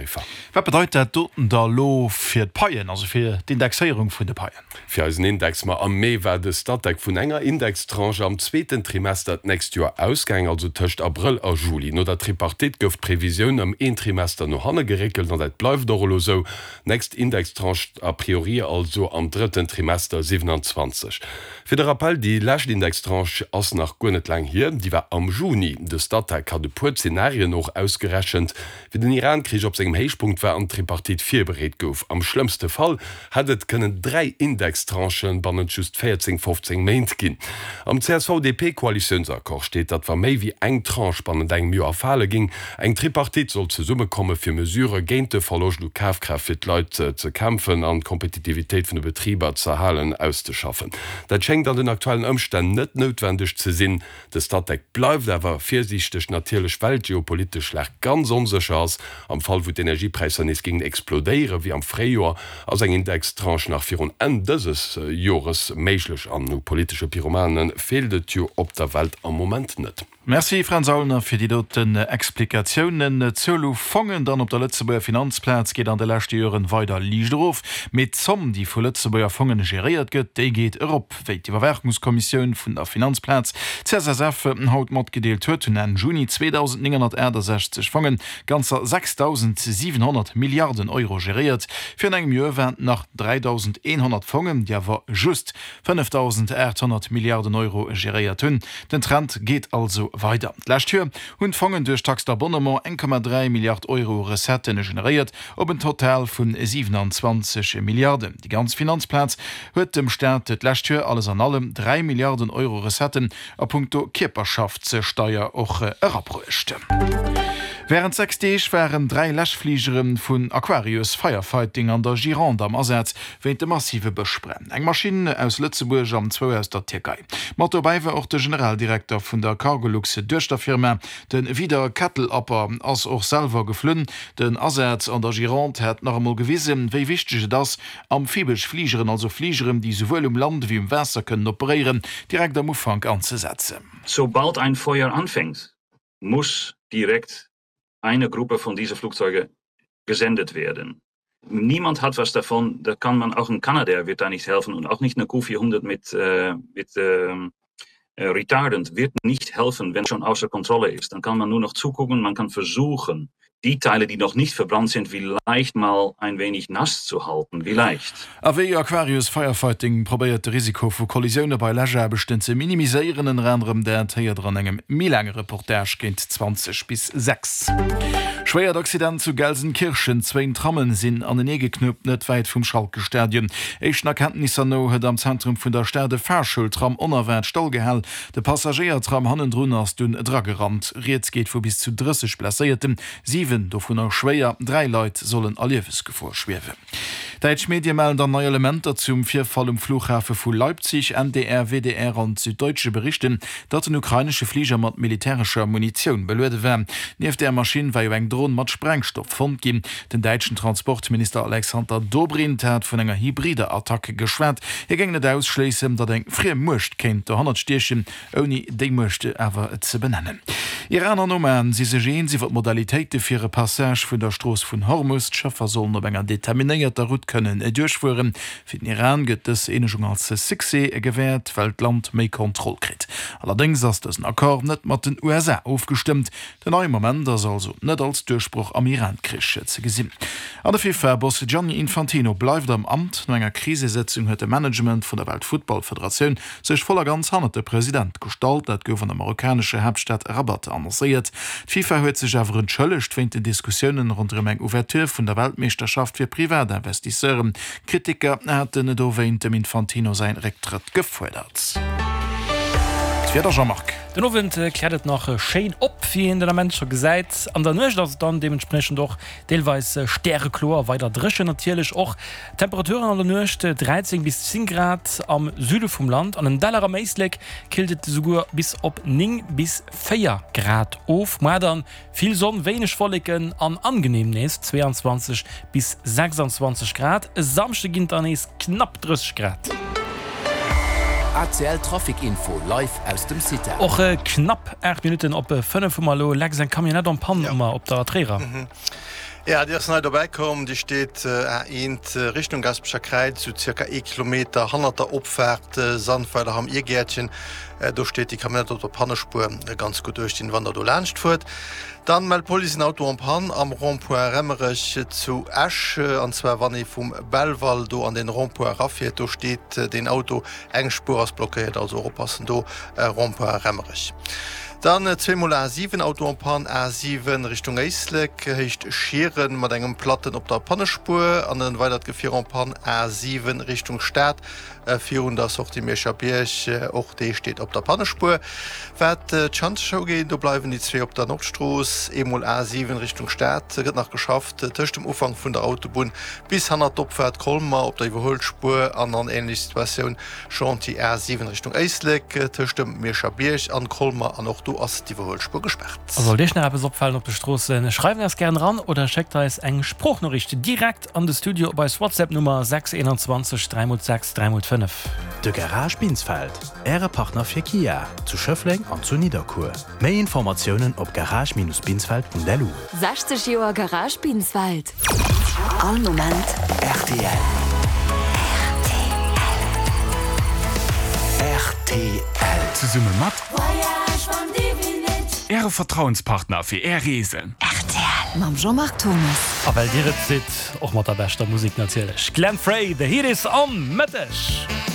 Tariffer. Wat bedeit dat doten da lo fir d'Paien, also fir d'Indexéierung vun de Paien? Fir eisen Index, ma am Mee war de Statec vun enger Indextranche am zweeten Trimester d'nächst Joer ausgaang, also tëscht Abrëll a Juli. No der Tripartite gouf d'Previsioun ëm een Trimester no hanne geréckelt an dat bleift och elo sou. Nächst Indextranche a priori also am drëtten Trimester 27. Fir de Rappell, déi lescht Indextranche ass nach guer net laang hier, déi war am Juni. De Statec hat e puer Zenarien och ausgerechent, Wéi den Iran-Krich op sengem Héichpunkt war an d'Tripartite virbereet gouf. Am schlëmmste Fall hätt et kënnen 3 Indextranchen bannent just 14, 15 Méint ginn. Am CSV-DP-Koalitiounsaccord steet, datt wa méi wéi eng Tranche bannent engem Joer fale géing, eng Tripartite soll zesummekomme fir Mesurë géint de Verloscht u Kafkraaft fir d'Leit ze kämpfen an d'Kompetitivitéit vun de Betriber z'erhalen, auszeschaffen. Dat schéngt an den aktuellen Ëmstänn net noutwendeg ze sinn. De Statec bleift awer virsiichteg, natierlech well d'geopolitesch Lag ganz onsécher ass. Am Fall wou d'Energiepräisser nees géingen explodéieren, wéi am Fréijoer, ass eng Indextranche nach virun Enn dëses Jores méiglech. An u politesche Pyromane feelt et jo op der Welt am Moment net. Merci Fränz Aulner fir déi doten Explikatiounen. D'Zuel u Fongen dann op der Lëtzebuerger Finanzplaz geet an de leschte Joren weider liicht erof, mee d'Zomm déi vu Lëtzebuerger Fongen geréiert gëtt, déi geet erop. Wéi d'Iwwerwaachungskommissioun vun der Finanzplaz, CSSF, haut matgedeelt huet, hunn Enn Juni 2.968 Fongen ganzer 6.700 Milliarden Euro geréiert. Virun engem Joer waren et nach 3.100 Fongen, déi awer just 5.800 Milliarden Euro geréiert hunn. Den Trend geet also weider. D'lescht Joer hunn d'Fongen duerch Taxe d'abonnement 1,3 Milliard Euro Recettë generéiert, op en Total vu 27 Milliarden. Déi ganz Finanzplaz huet dem Staat d'lescht Joer alles an allem 3 Milliarden Euro Recetten a punkto Kierperschaftssteier och erabruecht. Wärend 6 Deeg waren 3 Läschfligere vun Aquarius Firefighting an der Gironde am Asaz wéint de massive Bëschbränn. Eng Maschinn aus Lëtzebuerg an zwou aus der Tierkei. Mat dobäi war och de Generaldirekter vun der Cargolux Duechterfirma, De Wieder Kettelapper ass och selwer geflunn. Den Asaz an der Gironde hätt nach emol gewisen, wéi wichteg et ass, amphibesch Fligeren, also Fligeren, déi souwuel um Land ewéi um Waasser kënnen operéieren, direkt am Ufank anzesetzen. Sobald ein Feuer anfängt, muss direkt eine Gruppe von diese Flugzeuge gesendet werden. Niemand hat was davon, da kann man auch ein Canadair wird da nicht helfen und auch nicht eine Q400 mit, äh, mit ähm, äh, Retardant wird nicht helfen, wenn schon außer Kontrolle ist. Dann kann man nur noch zugucken, man kann versuchen, die Teile, die noch nicht verbrannt sind, vielleicht mal ein wenig nass zu halten, vielleicht. A wéi Aquarius Firefighting probéiert de Risiko vu Kollisioune bei Läschaarbechten ze minimiséieren, ënner anerem dat héiert der an engem méi laange Reportage géint 20 bis 6. Schwéiert Accident zu Gelsenkirchen, Zwéin Trammen sinn anenee geknuppt, net wäit vum Schalke-Stadion. Éischten Erkenntnisser no huet am Zentrum vun der Stad e Fahrschultram onerwaart stallgehal. De Passagéiertram hannendrun ass dunn dragerannt. Rieds geet vu bis zu 30 Blesséierten, 7 dovunner schwéier. 3 Leit sollen a Liewesgefor schwiewen. Däitsch Medie mellen dann nei Elementer zum Virfall um Flughafe vu Leipzig. NDR, WDR an d'Süddeutsche berichten, datt den ukrainesche Fliger mat militärescher Munitioun beluede war. Nieft där Maschinn war jo eng Dron mat Sprengstoff fonnt ginn. Den däitschen Transportminister Alexander Dobrindt hat vun enger hybrider Attack geschwat. Hie géing net ausschléissen, datt eng friem Muecht kéint dohannert stiechen, ouni déi Muecht awer ze benennen. Iran an Oman si sech eens iwwer d'Modalitéite fir e Passage vun der Strooss vun Hormus. D'Schëffer sollen op enger determinéierter Route kënnen duerchfueren. Fir den Iran gëtt dës Eenegung als Succès gewäert, well d'Land méi Kontroll kritt. Allerdéngs ass dësen Accord net mat den USA ofgestëmmt. Den neie Moment ass also net als Duerchbroch am Iran-Krich ze gesinn. An de FIFA-Boss Gianni Infantino bleift am Amt. No enger Krisesëtzung huet de Management vun der Weltfuttballfederatioun sech voll a ganz hannert de President gestallt. Dat gouf an der marokkanescher Haaptstad Rabat annoncéiert. D'FIFA huet sech awer entschëllegt wéint den Diskussiounen ronderëm eng Ouverture vun der Weltmeeschterschaft fir Privatinvestisseuren. Kritiker haten dowéint dem Infantino säin Récktrëtt gefuerdert. D'Wieder, Jean-Marc. Den Owend kläert et nach schéin op, wéi een den Ament scho gesäit. An der Nuecht ass et dann deementspriechend och deelweis stärekloer, weider dréchen natierlech och. Temperaturen an der Nuecht 13 bis 10 Grad am Süde vum Land, an den Däller am Éislek killt et esouguer bis op 9 bis 4 Grad of. Moar dann Vill Sonn, wéineg Wolleken an angenehm nees 22 bis 26 Grad. E Samschde ginn et dann nees knapp 30 Grad. ACL Trafic Info live aus dem CITA. Och knapp 8 Minutten op 5 hu mer elo. Lex, eng Camionnette en panne hu mer op der Tréierer. Ja, déi ass nei dobäi komm. Déi steet A1 Richtung Gaasperecher Kräiz, sou zirka ee Kilometer hannert der Opfaart Sandweiler Hamm Irgäertchen. Do steet déi Camionnette op der Pannespuer. Ganz gutt uecht dinn, wann der do laanscht fuert. Dann mellt d'Police en Auto en panne am Rond-point Remmerech zu Esch. An zwar wann ee vum Belval do an den Rond-point erafiert. Do steet deen Auto, eng Spuer ass blockéiert, also och oppassen do, Rond-point Remmerech. Dann zweemol A7, Auto en panne, A7 Richtung Éislek, Héicht Schieren mat engem Platten op der Pannespuer an en weidert Gefier en panne, A7 Richtung Stad virun der Sortie Mierscher Bierg, och dee steet op der Pannespuer. Wat d'Schanzeschoul ugeet, do bleiwen déi zwee op der Nordstrooss. Eemol A7 Richtung Stad gëtt nach geschafft tëscht dem Ufank vun der Autobunn bis hannert d'Opfaart Colmer op der Iwwerhuelspuer an an änlech Situatioun Chantier A 7 Richtung Éislek, tëscht dem Mierscher Bierg an Colmer an och do ass d'Iwwerhuelspuer gespaart. A sollt Iech nach eppes opfalen op de Stroossen, schreift eis gären eran oder schéckt eis eng Sproochnoriicht direkt an de Studio op eis WhatsApp Nummer 6 21 3 x 6 3 x 5. De Garage Binsfeld, Äre Partner fir Kia zu Schëffleng an zu Nidderkuer. Méi Informatiounen op garage-binsfeld.lu. 60 Joer Garage Binsfeld. All Moment rtl. Rtl. Zesumme mat Äre Vertrauenspartner fir Är Reesen. Rtl mam Jean-Marc Thomas. A well Dir et sidd, och mat der beschter Musek natierlech. Glenn Frey, The Heat Is On, Mëtteg.